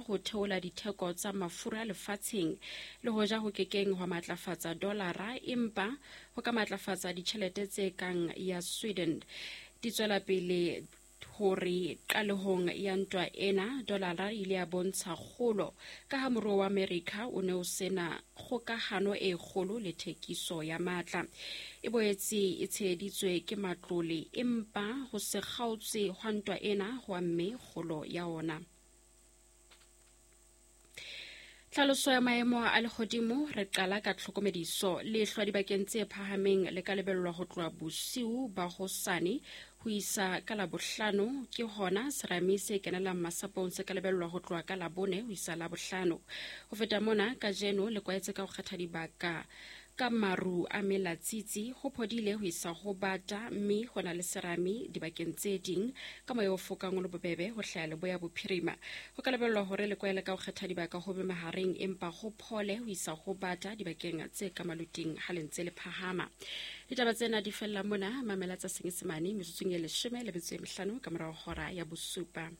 ho theola ditheko tsa mafura lefatsheng, le hoja ho kekeng hwa matlafatsa dolara empa ho ka matlafatsa ditjhelete tse kang ya Sweden. Di tswela pele hore qalehong ya ntwa ena dolara e ile ya bontsha kgolo ka ha moruo wa Amerika o ne o sena kgokahano e kgolo le thekiso ya matla. E boetse e tsheheditswe ke matlole empa ho se kgaotse hwa ntwa ena ho amme kgolo ya ona. Tlhaloso ya maemo a lehodimo re qala ka tlhokomediso. Lehlwa dibakeng tse phahameng le ka lebellwa ho tloha bosiu ba hosane ho isa ka Labohlano. Ke hona serame se kenelang masapong se ka lebellwa ho tloha ka Labone ho isa Labohlano. Ho feta mona, kajeno le kwaetse ka ho kgetha dibaka ka maru a melatsitsi, ho phodile ho isa ho bata mme ho na le serame dibakeng tse ding ka moya o fokang o le bobebe ho hlaya leboya bophirima. Ho ka lebellwa hore le kwaele ka ho kgetha dibaka ho be mahareng empa ho phole ho isa ho bata dibakeng tse ka maluting ha le ntse le phahama. Ditaba tsena di fella mona, mamela tsa Senyesemane metsotsong e 15 ka morao hora ya bosupa.